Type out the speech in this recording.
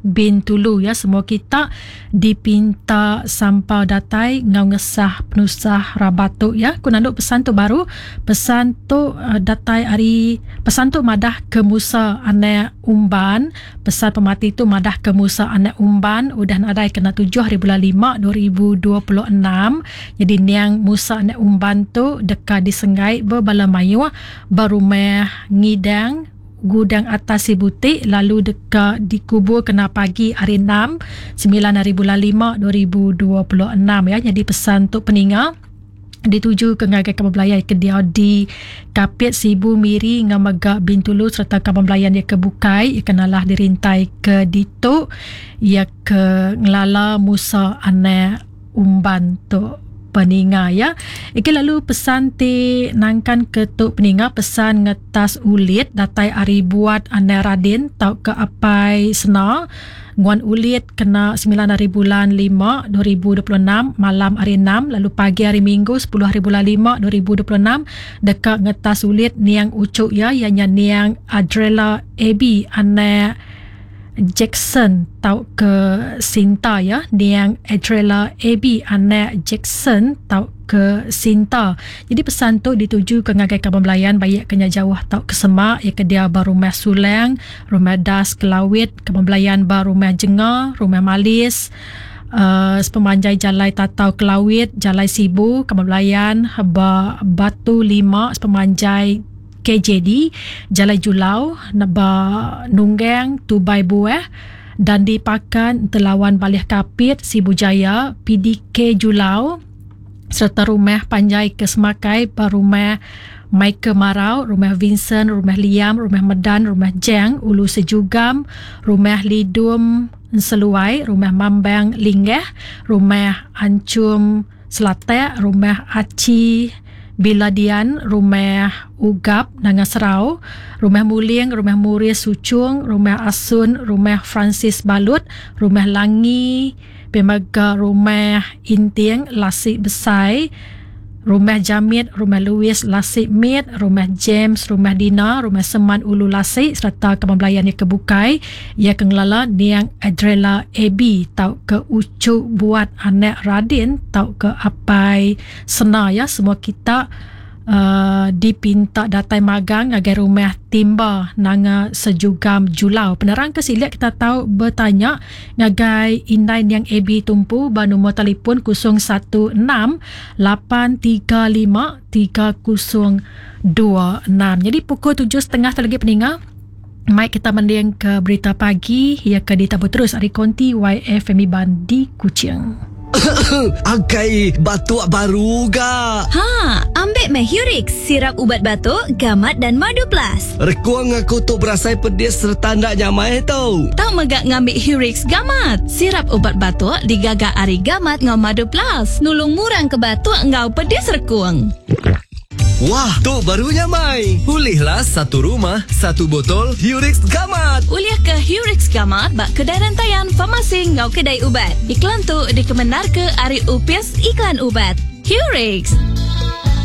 Bintulu ya. Semua kita dipinta sampal datai enggau ngesah penusah rabat tu ya. Ku nandu pesan tu baru. Pesan tu datai ari pesan tu madah ke Musa anak Umban. Pesan pemati tu madah ke Musa anak Umban udah nadai kena tujuh hari bulan lima 2026. Nyadi niang Musa anak Umban tu deka disenggai bebala mayuh ba rumah Ngidang Gudang Atas Sibuti lalu deka dikubur kena pagi hari enam, semilan hari bulan lima 2026 ya. Nyadi pesan tu peninga dituju ke ngagai kaban belayan ke diau di Kapit, Sibu, Miri enggau mega Bintulu sereta kaban belayan iya ke bukai iya ke nalah dirintai ke ditu iya ke ngelala Musa anak Umban tu peninga ya. Igi lalu pesan ti nangkan ke tu peninga pesan ngetas ulit datai ari buat anak Radin tauka apai Sena nguan ulit kena semilan hari bulan lima 2026 malam hari enam lalu pagi hari minggu sepuluh hari bulan lima 2026 deka ngetas ulit niang uchu iya iya nya niang Adrella Abby anak Jackson tauka Sinta ya niang Adrella Abby anak Jackson tauka Sinta. Jadi pesan tu dituju ke ngagai kaban belayan baik ke nya jauh tauka semak iya ke diau ba rumah Sulang, rumah Das Kelawit, kaban belayan ba rumah Jenga, rumah Malis, uh, sepemanjai jalai Tatau Kelawit, jalai Sibu, kaban belayan ba Batu Lima sepemanjai KJD, Jalai Julau, ba Nunggang, Tubai Buah, Dandi Pakan, Entelawan Balih Kapit, Sibu Jaya, PDK Julau, sereta rumah panjai ke semakai ba rumah Michael Marau, rumah Vincent, rumah Liam, rumah Medan, rumah Jang, Ulu Sejugam, rumah Lidum Enseluai, rumah Mambang Linggah, rumah Anchum Selatak, Rumah Achi Biladian, Rumah Ugap Nanga Serau, Rumah Muling, Rumah Muris Suchung, Rumah Asun, Rumah Francis Balut, Rumah Langi, pia mega Rumah Inting Lasi Besai, Rumah Jamit, Rumah Louis Lasi Mit, Rumah James, Rumah Dina, Rumah Seman Ulu Lasi sereta kaban belayan iya ke bukai. Iya ke ngelala niang Adrella Abby tauka uchu buat anak Radin tauka apai Sena iya semua kita uh, dipinta datai magang ngagai rumah Timba Nanga Sejugam Julau. Penerang ke silik kita tau betanya ngagai indai niang Abby Tumpu ba nombor telefon 016 835 3026. Jadi pukul 7.30 tu lagi peninga. Mai kita mending ke berita pagi iya ke ditabur terus ari konti YFM Iban di Kuching. Akai batuk baru ga. Ha, ambek meh Hurix, sirap ubat batuk, gamat dan madu plus. Rekung aku tu berasai pedis sereta enda nyamai tu. Tau mega ngambi Hurix Gamat, sirap ubat batuk digaga ari gamat enggau madu plus, nulung murang ke batuk enggau pedis rekung. Wah, tu baru nyamai. Ulihlah satu rumah, satu botol Hurix Gamat. Ulih ke Hurix Gamat ba kedai rentayan, farmasi enggau kedai ubat. Iklan tu dikemendarka ari Opis Iklan Ubat. Hurix.